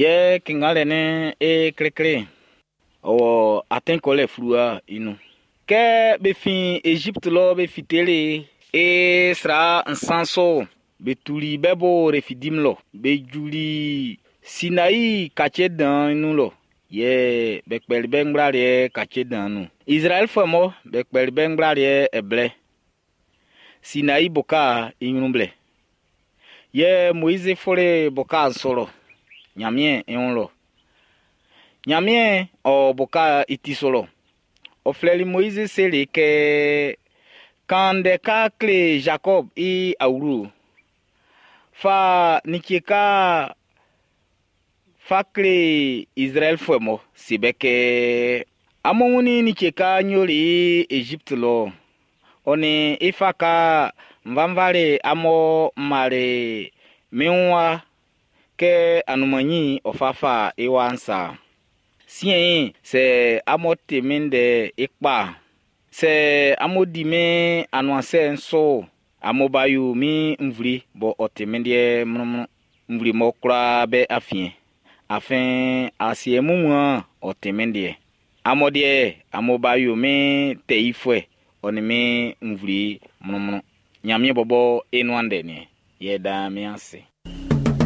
Yɛ kingalɛ ni e klekle ɔ wɔ atin kɔlɛ fluwa i nun. Kɛ be fin Egypte lɔ be fiteli e sra nsan so be tuli be bo Refidim lɔ. Be juli Sinai kace dan nun lɔ. Yɛ be kpɛli be ngblaliɛ kace dan nun. Izraɛlfuɛ mɔ be kpɛli be ngblaliɛ ɛblɛ. Sinai boka i ɲrun blɛ. Yɛ Moizi fuli boka'n su lɔ. Ɲanmiɛn i wun lɔ. Ɲanmiɛn ɔ boka i ti su lɔ. Ɔ flɛli Moizi seli kɛ, kan ndɛ ka kle Jacob i awlo. Fa like ka fa kle Izraɛlfuɛ mɔ se be kɛ, amun wunnin like ka n yoli i Egypte lɔ. Ɔ nin i fa ka nvanvali amun mali min wa kɛ anunman ɔ fa fa i wa'n sa. Siɛn'n, sɛ amun ti min ndɛ i kpa, sɛ amun di min anuansɛ'n so, amun ba yo min nvle bɔ ɔ ti min liɛ mlɔnmlɔn. Nvle mɔ kwlaa be afiɛn. Afin asiɛ wunmuan'n ɔ ti min liɛ. Amun deɛ, amun ba yo min tɛ yifuɛ, ɔ nin min nvle mlɔnmlɔn. Ɲanmiɛn bɔbɔ i nuan ndɛ ni yɛ dan min ase.